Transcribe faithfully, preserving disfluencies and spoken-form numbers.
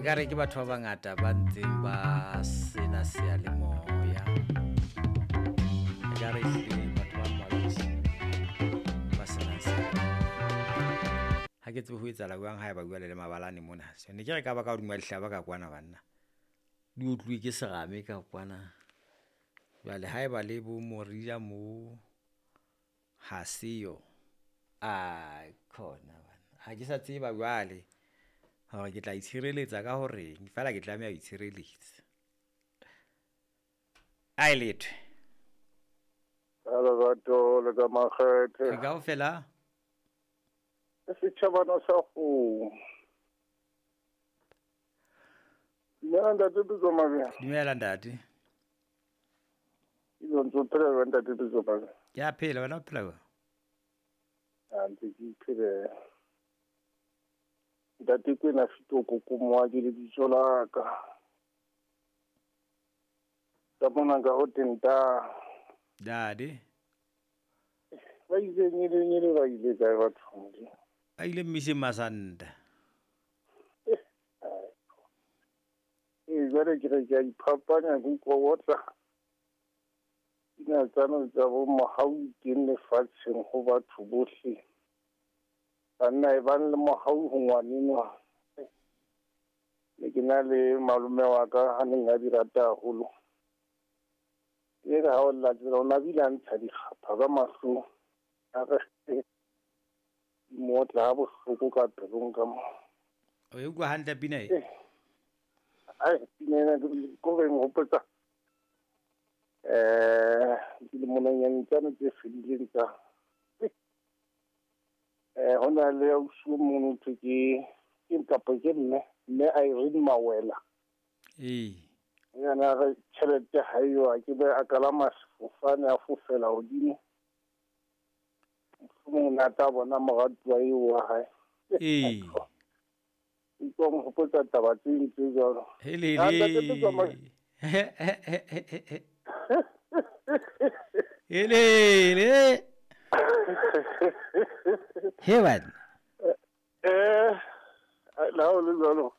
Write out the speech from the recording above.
Ekare ke batho ba bangata ba ntseng ba sena seyalemoya. Ekare ehlile batho ba mmalwa ba sena seyalemoya. Ha ke tsebe ho etsahala jwang ha eba jwale le mabalane mona. So ne ke re ka ba ka hodima dihlaba ka kwana banna. Di otluwe ke serame ka kwana. Jwale haeba le bo Morija mo ha seyo, aikhona banna. Ha ke sa tseba jwale hore ke tla itshireletsa ka horeng, feela ke tlameha ho itshireletsa. Ae letho. Ka lerato le ka makgethe. Re kaofela. Setjhabana sa kgomo. Dumela ntate Pitso Mabea. Dumela ntate. Ke ntse o phela jwang ntate Pitso Mabea? Ke a phela, wena o phela jwang? A ntse ke iphelela. Ntate Kwena Fito Kokomoa ke lebitso la ka. Ka mona ka ho tenta. Dade. Ba ile nyele nyele ba ile kae batho Modimo? Ba ile mmiseng Masanta. Eh, jwale ke re ke a iphapanya ke utlwa otla. Pina tsano tsa bo mohau teng lefatsheng ho batho bohle. Banna e bang le mohau ho ngwanenwa. Ne ke na le malome wa ka a neng a di rata haholo. E re ha o lla tsela, o na bile a ntsha dikgapha ka mahlong. A re di mo otla ha bohloko ka pelong ka mo. O e utlwa hantle pina e? Ai, pina ena ko re nghopotsa. Eh, dilemonyana tsane tse fedileng tsa. Eh, ho na le ausi o mong ho thwe ke, ke kapa ke mme, mme Irene Mawela. Ee. Yena re tjhelete ha eyo, a ke be a kalama sefofane a fofela hodimo. Mohlomong o ne a tla bona moratuwa eo wa hae. Ee. Utlwa nghopotsa taba tse ding tse jwalo. Helele. Ha, ntate Pitso Mabea. Helele. He banna. Eh, la ho le jwalo.